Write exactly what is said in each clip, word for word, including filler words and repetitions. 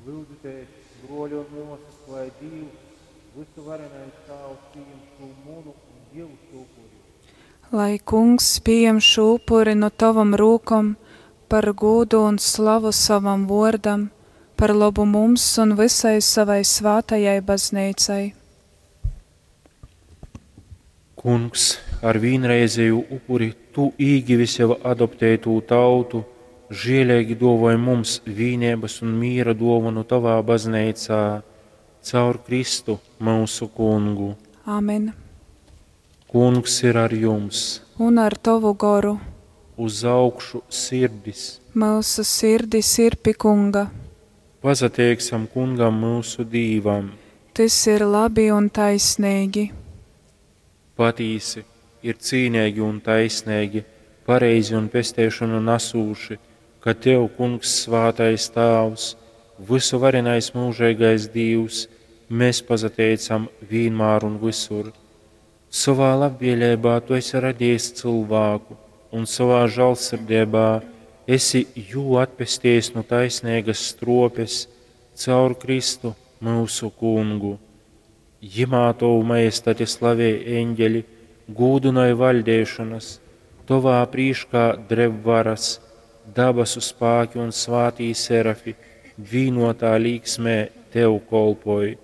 Lyudzitēs, bruoļi un muosys, lai Dīvs, vysuvarenais Tāvs, pījam šū munu un jiusu upuri. Lai Kungs pījam šū upuri nu tovom rūkom par gūdu un slavu sovam vōrdam, par lobu mums un vysai sovai svātajai Bazneicai. Kungs, ar vīnreizejū upuri tu īgivi sev adoptētū tautu, žieleigi duovoj mums vīneibys un mīra duovonu tovā bazneicā caur Kristu, myusu Kungu. Amen. Kungs ir ar jums! Un ar tovu goru. Uz augšu sirdis! Myusu sirdis ir pi Kunga. Pasateiksim Kungam, myusu Dīvam! Tys ir labi un taisneigi. Patīsi, ir cīneigi un taisneigi, pareizi un pesteišonu nasūši, ka tev, Kungs, svātais Tāvs, vysuvarenais myužeigais Dīvs, mēs pasateicam vīnmār un vysur. Sovā labvēleibā tu esi radījis cylvāku un sovā žālsirdeibā esi jū atpestejis nu taisneigas struopes caur Kristu, myusu Kungu. Jimā tovu majestati slavej eņģeļi, gūdynoj vaļdeišonas, tovā prīškā dreb varas, dabasu spāki un svātī serafi vīnotā līksmē tev kolpoj.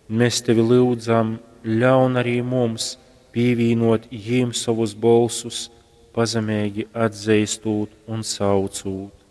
Mēs tevi lyudzam, ļaun arī mums pīvīnot jīm sovus bolsus, pazemeigi atzeistūt un saucūt.